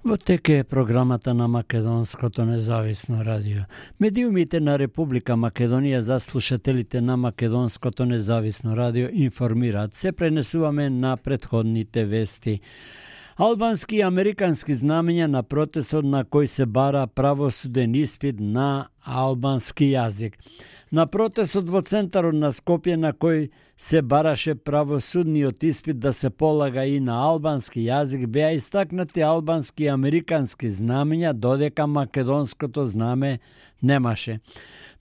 Во теке е програмата на Македонското независно радио. Медиумите на Република Македонија за слушателите на Македонското независно радио информираат. Се пренесуваме на претходните вести. Албански и американски знамења на протестот на кој се бара правосуден испит на албански јазик. На протестот во центарот на Скопје на кој се бараше правосудниот испит да се полага и на албански јазик, беа истакнати албански и американски знамења, додека македонското знаме немаше.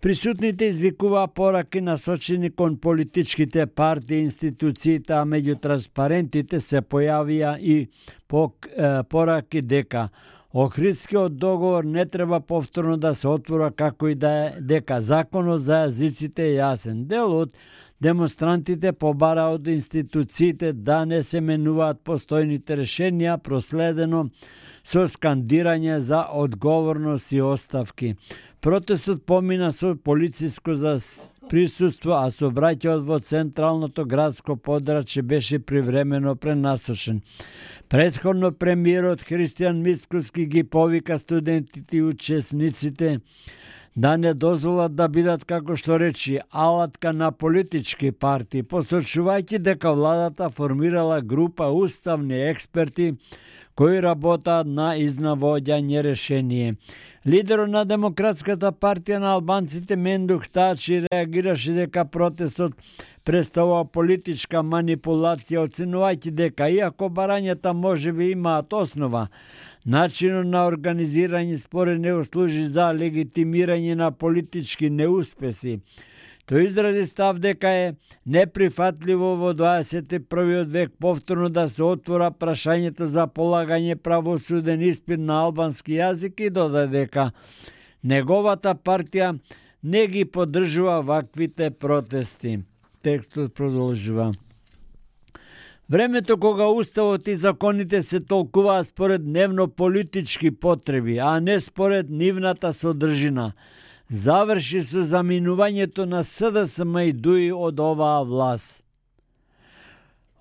Присутните извикуваа пораки насочени кон политичките партии и институциите, а меѓу транспарентите се појавија и пораки дека Охридскиот договор не треба повторно да се отвора, како и дека законот за јазиците е јасен. Дел од демонстрантите побара од институциите да не се менуваат постојните решенија, проследено со скандирање за одговорност и оставки. Протестот помина со полициско за присуство, а сообраќајот во централното градско подрачје беше привремено пренасочен. Претходно премиерот Христијан Мицкоски ги повика студентите и учесниците да не дозволат да бидат, како што речи, алатка на политички партии, посочувајќи дека владата формирала група уставни експерти кои работаат на изнавоѓање решение. Лидерот на Демократската партија на албанците Мендух Тачи реагираше дека протестот представува политичка манипулација, оценувајќи дека иако барањата можеби имаат основа, начинот на организирање според него служи за легитимирање на политички неуспеси. Тој изрази став дека е неприфатливо во 21. век повторно да се отвора прашањето за полагање правосуден испит на албански јазик и додаде дека неговата партија не ги поддржува ваквите протести. Текстот продолжува. Времето кога уставот и законите се толкуваат според дневно политички потреби, а не според нивната содржина, заврши со заминувањето на СДСМ и ДУИ од оваа власт.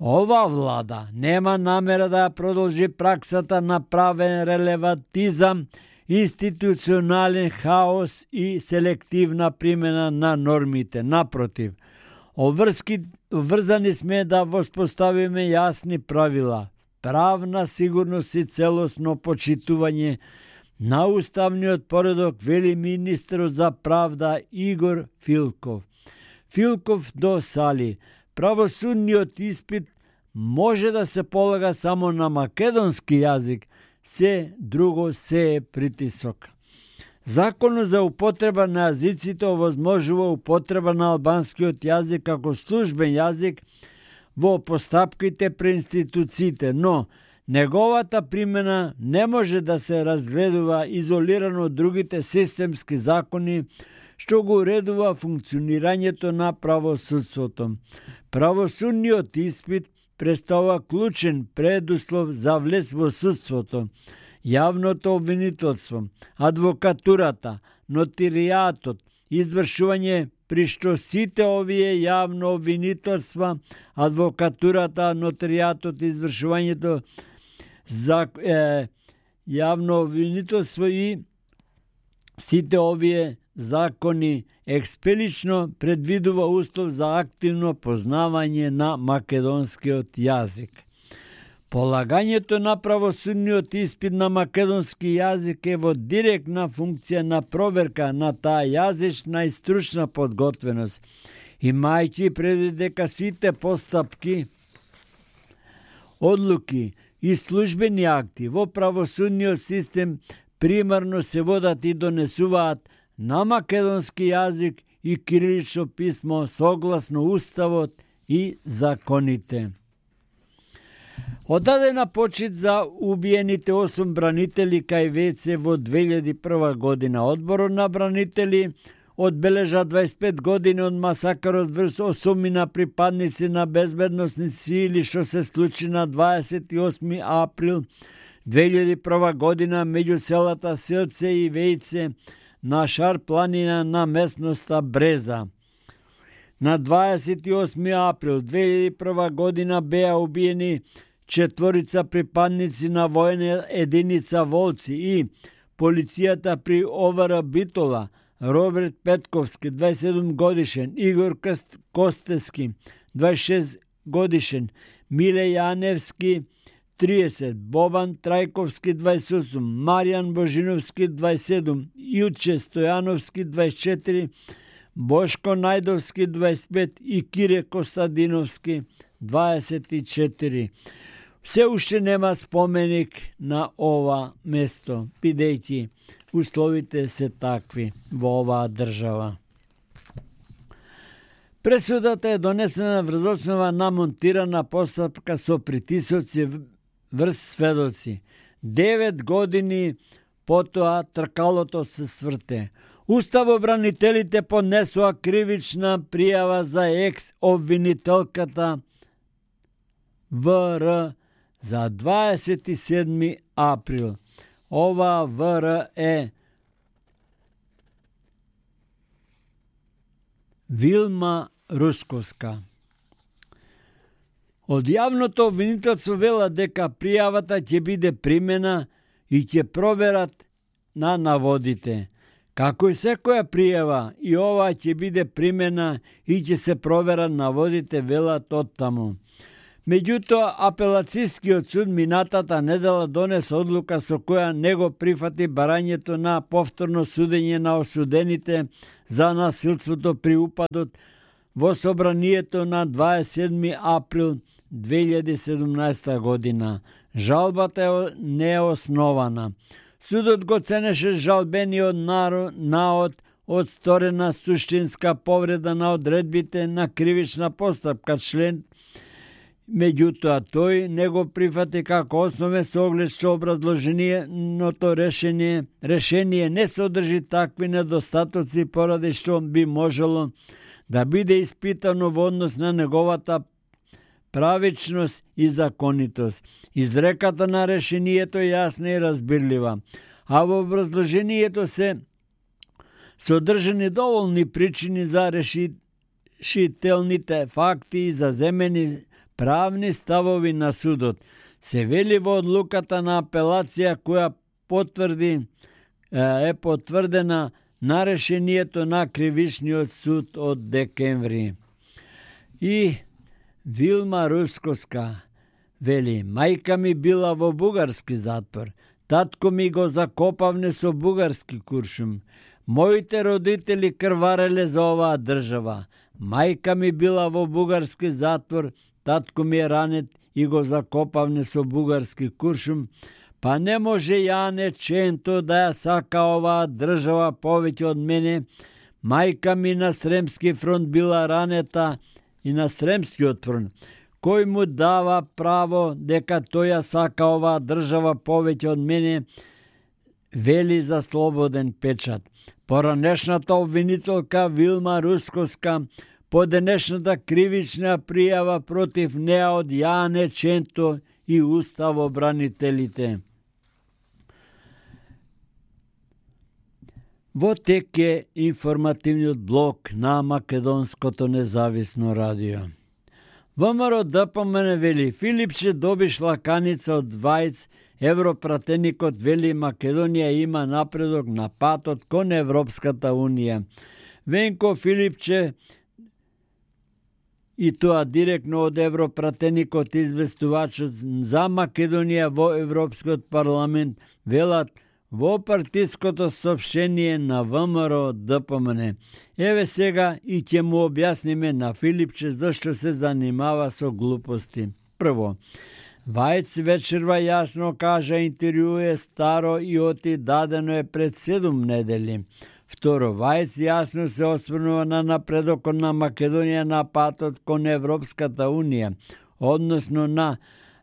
Ова влада нема намера да ја продолжи праксата на правен релевантизам, институционален хаос и селективна примена на нормите. Напротив, врзани сме да воспоставиме јасни правила, правна сигурност и целосно почитување на уставниот поредок, вели министерот за правда Игор Филков. Филков досали, правосудниот испит може да се полага само на македонски јазик, се друго се е притисок. Законот за употреба на јазиците овозможува употреба на албанскиот јазик како службен јазик во постапките при институциите, но неговата примена не може да се разгледува изолирано од другите системски закони што го уредува функционирањето на правосудството. Правосудниот испит представува клучен предуслов за влез во судството, јавното обвинителство, адвокатурата, нотаријатот, извршување при што сите овие јавно обвинителства, адвокатурата, нотаријатот, извршувањето за јавно обвинителство и сите овие закони експелично предвидува услов за активно познавање на македонскиот јазик. Полагањето на правосудниот испит на македонски јазик е во директна функција на проверка на таа јазична и стручна подготвеност, имајќи предвид дека сите постапки, одлуки и службени акти во правосудниот систем примарно се водат и донесуваат на македонски јазик и кирилично писмо согласно уставот и законите. Одадена почит за убиените 8 бранители кај ВЦ во 2001 година. Одборот на бранители одбележа 25 години од масакарот врз 8 припадници на безбедносни сили што се случи на 28 април 2001 година меѓу селата Селце и Вејце на Шар планина на местноста Бреза. На 28 април 2001 година беа убиени 4 припадници на војна единица Волци и полицијата при ОВР Битола, Роберт Петковски, 27 годишен, Игор Костески, 26 годишен, Миле Јаневски, 30, Бобан Трајковски, 28, Маријан Божиновски, 27, Илче Стојановски, 24, Бошко Најдовски, 25 и Кире Костадиновски, 24. Се уште нема споменик на ова место, бидејќи условите се такви во оваа држава. Пресудата е донесена врз основа на монтирана постапка со притисоци врз сведоци. 9 години потоа тркалото се сврте. Уставобранителите поднесоа кривична пријава за екс-обвинителката ВР за 27 април. Ова ВР е Вилма Русковска. Од јавното обвинителство вела дека пријавата ќе биде примена и ќе проверат на наводите. Како и секоја пријава, и ова ќе биде примена и ќе се провера наводите, велат оттаму. Меѓутоа, апелацијскиот суд минатата недела донесе одлука со која не го прифати барањето на повторно судење на осудените за насилството при упадот во собранието на 27 април 2017 година. Жалбата е неоснована. Судот го ценеше жалбениот наод од сторена суштинска повреда на одредбите на кривична постапка член. Меѓутоа, тој не го прифати како основе со оглед што образложеното решение не содржи такви недостатоци поради што би можело да биде испитано во однос на неговата правичност и законитост. Изреката на решението е јасна и разбирлива, а во образложението се содржани доволни причини за решителните факти и за земени правни ставови на судот. Се вели во одлуката на апелација која е потврдена на решението на Кривичниот суд од декември. И Вилма Русковска вели: мајка ми била во бугарски затвор, татко ми го закопавне со бугарски куршум. Моите родители крвареле за оваа држава. Мајка ми била во бугарски затвор, татко ми е ранет и го закопавне со бугарски куршум, па не може Јане Ченто да ја сака оваа држава повеќе од мене. Мајка ми на Сремски фронт била ранета и на Сремскиот фронт. Кој му дава право дека тој ја сака оваа држава повеќе од мене, вели за Слободен печат. Поранешната обвинителка Вилма Русковска по денешната кривична пријава против неа од Јане Ченто и уставобранителите. Во тек е информативниот блок на Македонското независно радио. ВМРО ДПМН вели: Филипче добиш лаканица од Вајц, европратеникот вели Македонија има напредок на патот кон Европската унија. Венко Филипче, и тоа директно од европратеникот известувачот за Македонија во Европскиот парламент, велат во партиското соопштение на ВМРО ДПМН. Еве сега и ќе му објасниме на Филипче зашто се занимава со глупости. Прво, Вајц вечерва јасно кажа интервју е старо и оти дадено е пред 7 недели. Второ, Вајц јасно се осврнува на напредокот на Македонија на патот кон Европската унија, односно на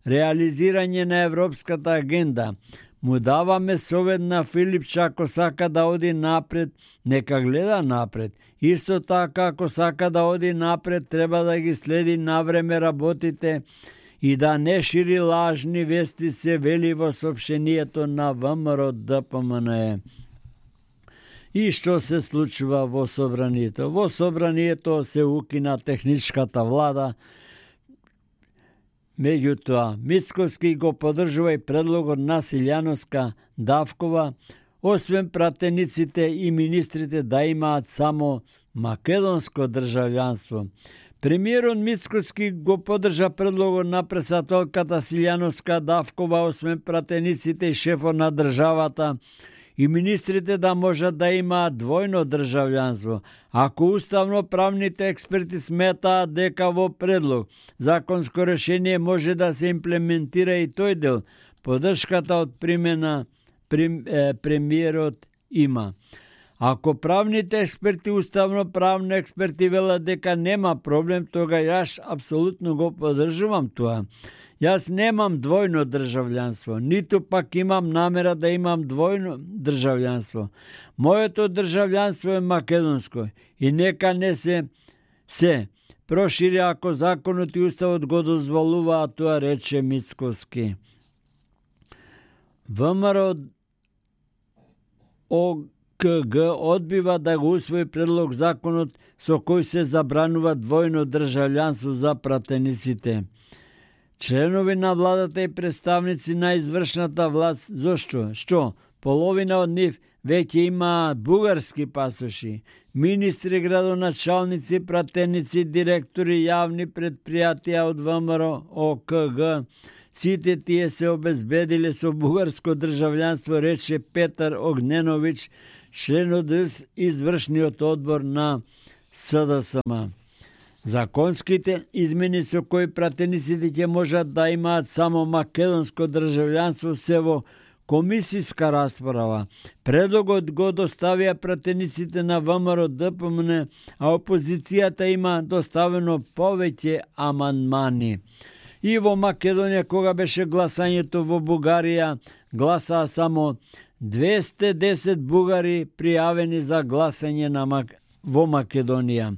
реализирање на Европската агенда. Му даваме совет на Филипче, ако сака да оди напред, нека гледа напред. Исто така, ако сака да оди напред, треба да ги следи навреме работите и да не шири лажни вести, се вели во соопштението на ВМРО ДПМН. И што се случува во собранието? Во собранието се укина техничката влада. Меѓутоа, Мицковски го поддржува и предлогот на Силјановска Давкова, освен пратениците и министрите да имаат само македонско државјанство. Премиерот Мицковски го поддржа предлогот на претседателката Силјановска Давкова, освен пратениците и шефот на државата и министрите да можат да имаат двојно државјанство, ако уставно-правните експерти сметаат дека во предлог законско решение може да се имплементира и тој дел, поддршката од премиерот има. Ако правните експерти, уставно-правни експерти велат дека нема проблем, тога јас апсолутно го поддржувам тоа. Јас немам двојно државјанство, ниту пак имам намера да имам двојно државјанство. Моето државјанство е македонско и нека не се прошири ако законот и уставот го дозволуваат, тоа рече Мицковски. ВМРО ОКГ одбива да го усвои предлог законот со кој се забранува двојно државјанство за пратениците. Членови на владата и представници на извршната власт, зошто? Што? Половина од нив веќе има бугарски пасоши. Министри, градоначалници, пратеници, директори, јавни предпријатија од ВМРО ОКГ, сите тие се обезбедиле со бугарско државјанство, рече Петар Огненовиќ, член од извршниот одбор на СДСМ. Законските измени со кои пратениците ќе можат да имаат само македонско државјанство се во комисиска расправа. Предлогот го доставија пратениците на ВМРО ДПМН, а опозицијата има доставено повеќе амандмани. И во Македонија, кога беше гласањето во Бугарија, гласаа само 210 бугари пријавени за гласање во Македонија.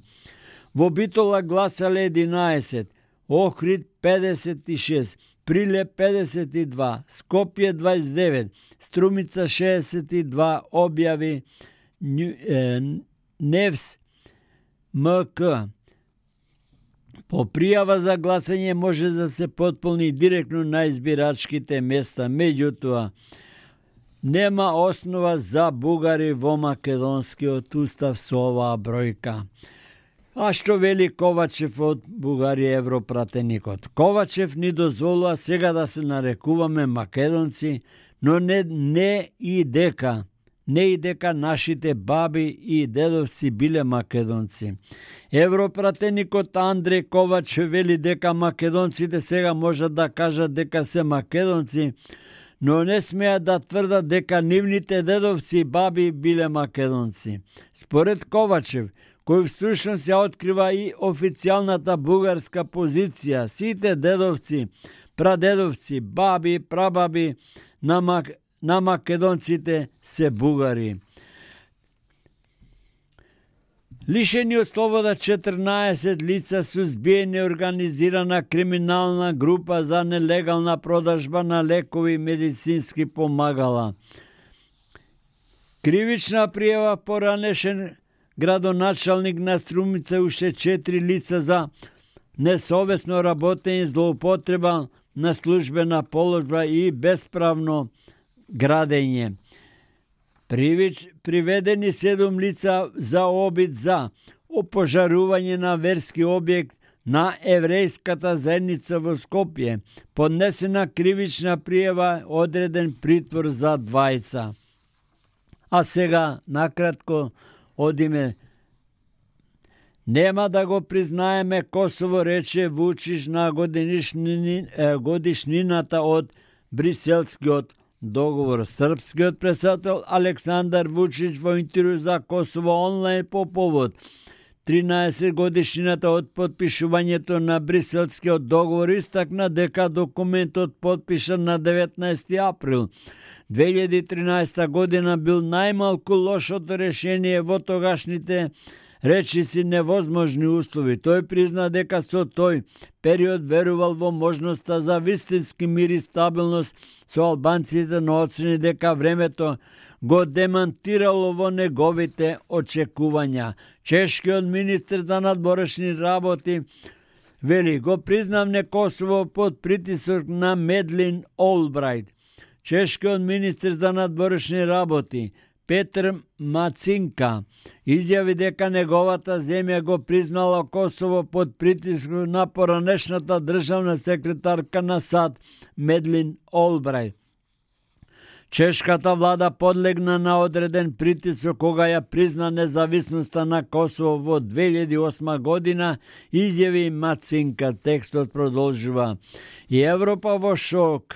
Во Битола гласале 11, Охрид 56, Прилеп 52, Скопје 29, Струмица 62 објави Невс МК. По пријава за гласање може да се потполни директно на избирачките места, меѓутоа нема основа за бугари во македонскиот устав со оваа бројка. А што вели Ковачев од Бугарија европратеникот? Ковачев ни дозволува сега да се нарекуваме македонци, но не и дека нашите баби и дедовци биле македонци. Европратеникот Андреј Ковачев вели дека македонците сега можат да кажат дека се македонци, но не смеат да тврдат дека нивните дедовци и баби биле македонци. Според Ковачев, кој всушност ја открива и официјалната бугарска позиција, сите дедовци, прадедовци, баби, прабаби на македонците се бугари. Лишени од слобода 14 лица сузбиени организирана криминална група за нелегална продажба на лекови и медицински помагала. Кривична пријава поранешен градоначалник на Струмица уште 4 лица за несовесно работење, злоупотреба на службена положба и бесправно градење. Приведени 7 лица за обид за опожарување на верски објект на еврејската заедница во Скопје. Поднесена кривична пријава, одреден притвор за двајца. А сега, накратко, одиме. Нема да го признаеме Косово, рече Вучич на годишнината од Бриселскиот договор. Српскиот претседател Александар Вучич во интервју за Косово онлайн по повод 13 годишнината од потпишувањето на Бриселскиот договор истакна дека документот подпишан на 19 април 2013 година бил најмалку лошото решение во тогашните речиси невозможни услови. Тој призна дека со тој период верувал во можноста за вистински мир и стабилност со албанците, но оцени дека времето го демантирало во неговите очекувања. Чешкиот министер за надворешни работи Вели, го признавне Косово под притисок на Медлин Олбрајт. Чешкиот министр за надворешни работи Петр Мацинка изјави дека неговата земја го признала Косово под притиск на поранешната државна секретарка на САД Медлин Олбрајт. Чешката влада подлегна на одреден притисок кога ја призна независноста на Косово во 2008 година, изјави Мацинка. Текстот продолжува. И Европа во шок.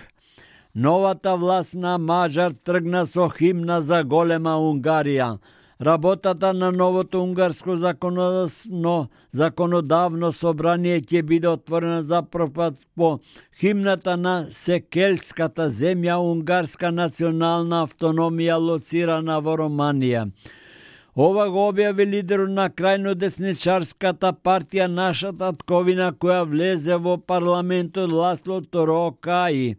Новата власт на Мажар тргна со химна за голема Унгарија. Работата на новото унгарско законодавно собрание ќе биде отворена за прв пат по химната на Секелската земја, унгарска национална автономија лоцирана во Романија. Ова го објави лидерот на крајно десничарската партија Нашата татковина, која влезе во парламентот, Ласло Торокаи,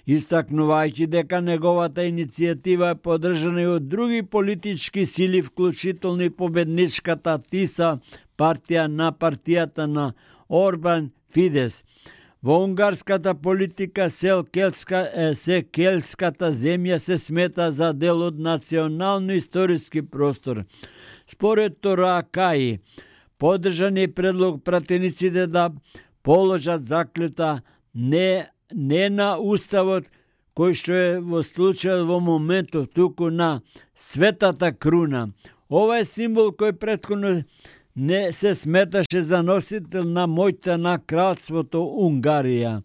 истакнувајќи дека неговата иницијатива е поддржана и од други политички сили, вклучително и победничката ТИСА, партија на партијата на Орбан Фидес. Во унгарската политика Секелската земја се смета за дел од национално-историски простор. Според Торакаи, поддржан е предлог пратениците да положат заклета не на уставот, кој што е во случајот во моментов, туку на светата круна. Ова е символ кој претходно не се сметаше за носител на моќта на кралството Унгарија.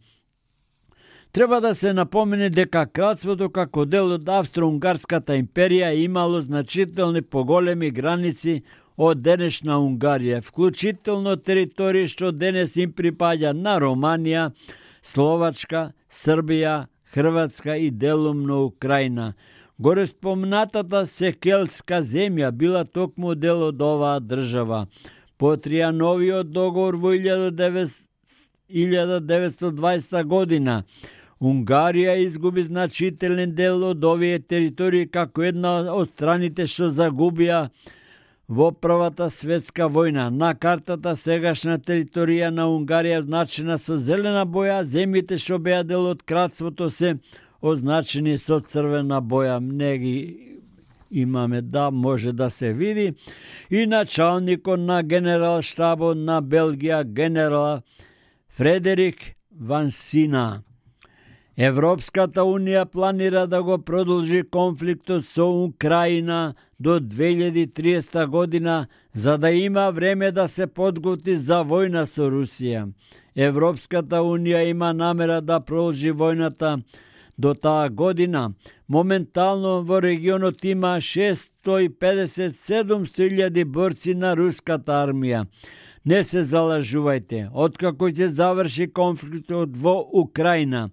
Треба да се напомене дека кралството како дел од Австро-Унгарската империја имало значителни поголеми граници од денешна Унгарија, вклучително територии што денес им припаѓа на Романија, Словачка, Србија, Хрватска и делумно Украина. Горе спомнатата Секелска земја била токму дел од оваа држава. По Тријановиот договор во 1920 година Унгарија изгуби значителен дел од овие територии како една од страните што загубија во Првата светска војна. На картата сегашна територија на Унгарија означена со зелена боја, земјите што беа дел од кралството се означени со црвена боја. Неги имаме, да, може да се види. И началникот на генерал штабот на Белгија, генерал Фредерик Вансина. Европската Унија планира да го продолжи конфликтот со Украина до 2030 година, за да има време да се подготви за војна со Русија. Европската Унија има намера да продолжи војната до таа година. Моментално во регионот има 650-700 борци на руската армија. Не се залажувајте, откако ќе заврши конфликтот во Украина,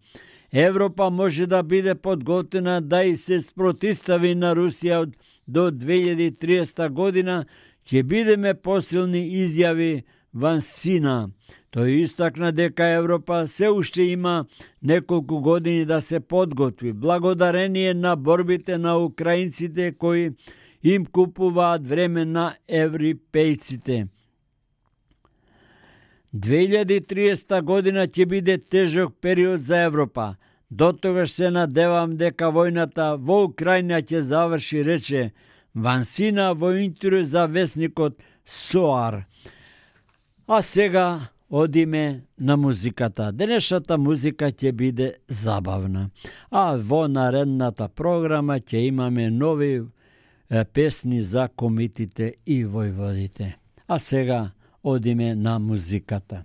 Европа може да биде подготвена да и се спротистави на Русија до 2030 година, ќе бидеме посилни, изјави Вансина. Тој истакна дека Европа се уште има неколку години да се подготви, благодарение на борбите на украинците кои им купуваат време на европејците. 2030 година ќе биде тежок период за Европа. До тогаш се надевам дека војната во Украина ќе заврши, рече Вансина во интервју за весникот СОАР. А сега одиме на музиката. Денешната музика ќе биде забавна. А во наредната програма ќе имаме нови песни за комитите и војводите. А сега одиме на музиката.